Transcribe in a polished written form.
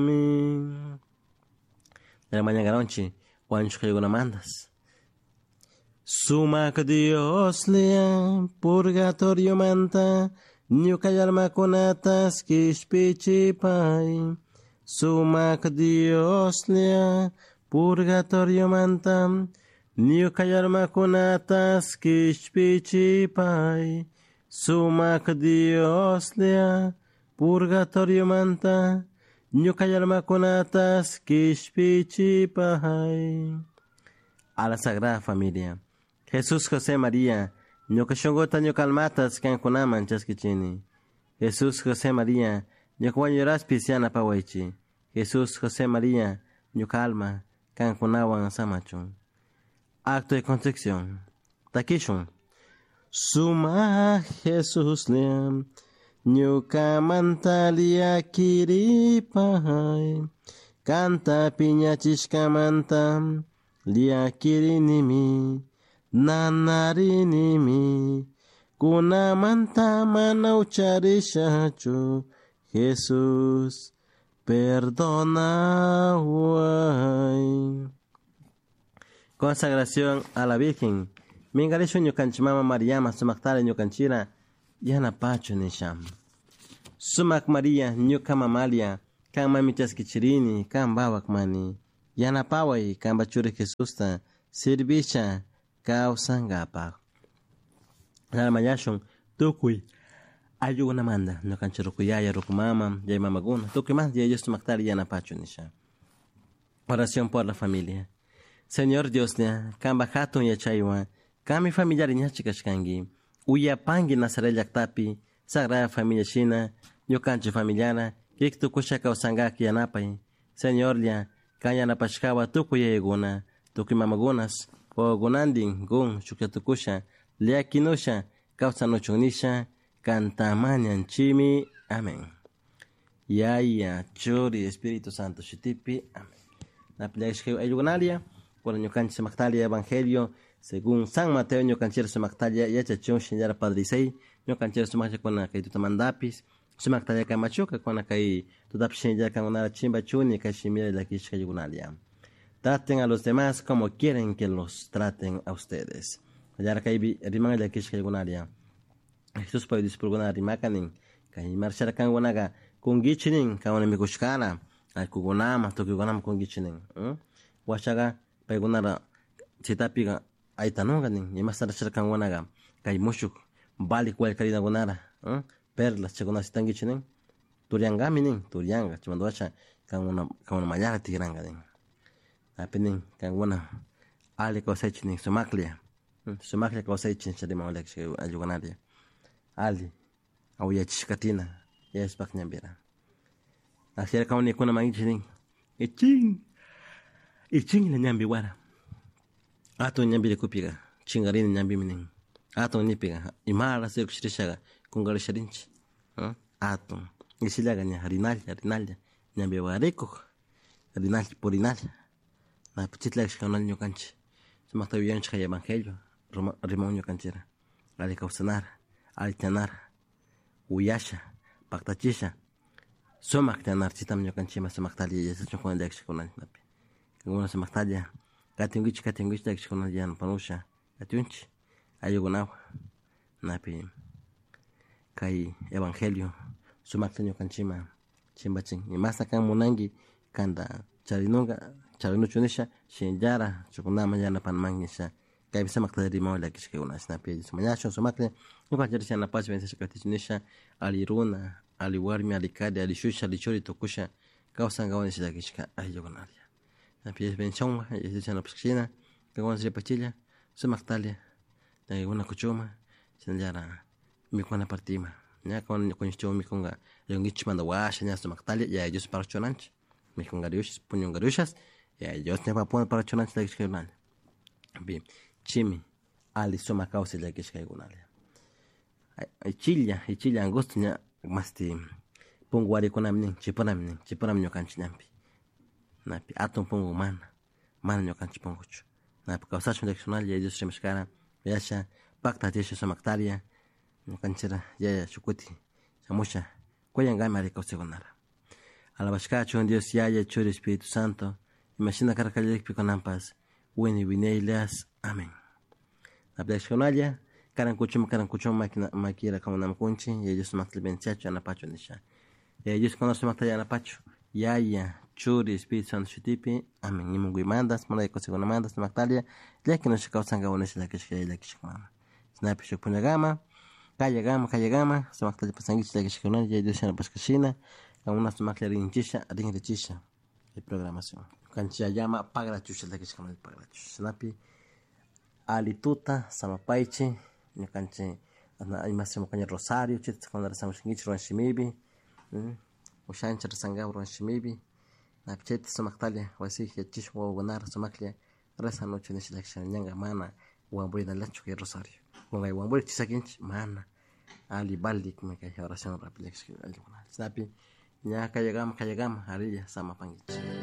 Amin. Mañangaronchi wañushkaykunamantas. Sumak Dioslla purgatoriomanta ñuka almakunatas kishpichipay. Sumak Dioslla purgatoriomanta ñuka almakunatas kishpichipay. Sumak Dioslla purgatoriomanta ñuka almakunatas kishpichipay. A la Sagrada Familia. Jesús José María, ñuka shunkuta ñuka almatas kankunaman chaskichini. Jesús José María, ñuka wañuraspis yanapawaychi. Jesús José María, ñuka alma kankunawan samachun. Acto de contrición. Takishun. Suma Jesús ñukamanta llakiripay. Kanta piñachishkamanta llakirinimi. Nanarinimi. Kunamanta mana ucharishachu. Jesús, perdonaway. Consagración a la Virgen. Mingarishu ñukanchik mama Mariama sumaktara ñukanchira yanapachu nisha. Sumak Maria ñuka mamalia kan mami chaskichirini kan bawak mani. Yanapaway kanpa churi Jesusta servisha kawsankapaq. Mañashun tukuy ayllukunamanta ñukanchik ruku yaya, ruku mama, yaya mamakuna, tukuymanta Yaya Dios sumaktara yanapachu nisha. Oración por la familia. Señor Dioslla, kanpa hatun yachaywan, kanmi familiari ñachi kashkanki. Uyapanki Nazaret llaktapi, Sagrada Familia shina, ñukanchik familiara, kik tukusha kawsankak yanapay. Señorlla, kan yanapashkawa tukuy yayakuna, tukuy mamakunas, wawakunantin kun shuklla tukusha, llakinusha, kawsanuchun nisha, kanta mañanchimi. Amén. Yaya, Churi, Espíritu Santo shutipi. Amén. Napillashka ayllukunalia, kunan ñukanchik sumaktalia Evangelio según San Mateo ñukanchik sumaktalia yachachun shinallara Padre Isai, ñukanchik sumaklla kuna kay tutamantapis, sumaktalia kamachuka kuna kay tutapi shinallara kankunara chimpachuni kay shimira llakishka ayllukunalia. Traten a los demás como quieren que los traten a ustedes. Allara kaypi riman llakishka ayllukunalia. Jesús pay discipulokuna rimaka nin, kay marchara kankunaka kunkichik nin, kankuna mikushkana, allkukunama, tukuykunama kunkichik nin. Washaqa paykunara chaytapika aytanunka nin, imashta kankunaka kay mushuk valik wallkarinakunara, perlas chaykunata shitankichik nin, turyankami nin, turyanka, chaymanta washa kankuna kankuna mallara tikranka nin. Api nin kankuna alli kawsaychik nin sumaklla, sumaklla kawsaychik nisha riman ayllukunaria. Ali awiyachishka katina Yayaspak ñanpira. Así kawnikuna mankichik nin, ichin, ichinlla ñanpi wara. Atun ñanpi rikupika chinkarina ñanpimi nin. Atun nipika imara rikushirishaka kunkarisharinchik, atun isillaka ña rinalla rinalla ñanpi warikuk, rinalla purinalla. Napi chayta ñukanchik sumakta yuyanchik kay evangelio riman ñukanchikra alli kawsanara, alli tiyanara, uyasha, paktachisha, sumak tiyanara chaytami ñukanchikman sumakta alli yachachun llakishkakunapi. Kankuna sumaktalla katinkichik katinkichik llakishkakunata yanapanusha katiunchik ayllukunawan napi kay evangelio sumakta ñukanchikman chimpachin. Imashta kan munanki kanta charinunka charinuchu nisha shinallara shukkunaman yanapanamanki nisha kaypi sumakta rimawan llakishkakuna chashnapi mañashun sumaklla ñukanchik yanapashpa bendiciashka katichun nisha alli runa, alli warmi, alli kari, alli shusha, alli churi tukusha kawsankawan nisha llakishka ayllukunalla. Napi bendicionwan yanapashka kankuna ripachilla sumaktalla ñaykuna kuchuma shinallara mikuna partima ña kuñishchawan mikunka rinkichik washa ña sumaktalla Yaya Dios parachunanchik mikunkaryushas puñunkaryushas Yaya Dios ñawpa parachunanchik llakishkakunalla. Chimi alli sumak kawsay llakishkaykunalla. Ichilla, ichilla angosto ña masti punku warikunami nin chipunami nin chipunami ñukanchik ñanpi. Napi atun punku mana, mana ñukanchik punkuchu. Napi kawsashun llakishkunalla Yaya Dios rimashkara yasha paktachisha sumaktalla ñukanchikra yaya shuk kuti shamusha kuyankami alli kawsaykunara. Alabashkachun Dios Yaya, Churi, Espíritu Santo, imashina karkallikpi kunanpas, wini winaylas. Amén. Napllashkunalla, karan kuchuma karan kuchuma makira kamunamkunchi, Yaya Dios sumakta bendiciachu, yanapachu nisha. Yaya Dios kuna sumakta yanapachu, Yaya, Churi, Espíritu Santo shutipi, amén. Imunguimantas, munay kusikunamantas, sumaktalla, llakinusha kawsankawa nisha llakishka llakishka mama. Shinapish shuk punllakama, kayakama, kayakama, sumaktalla pasankichik llakishkakunalla, Yaya Dios yanapashkashina, kamuna sumaklla rinchisha, rinrichisha, kay programación. Kanchi yayama pagrachusha llakishkakunalla pagrachusha. Shinapi, ali tuta, samapaychi, ñukanchik ima rosario, chayta rezamoshankichik ruwan shimipi, ushanchik rezankapak ruwan shimipi, napi chayta sumaktalla wasiyki yachachishun wawakunara sumaklla rezanuchun nisha llakishkani ñanka mana wambrinallachu kay rosario. Kay wamburi chisakinchik mana ali valikmi kay oración llakishka allkukuna. Chaypi ña kayakama kayakama arilla samapankichik.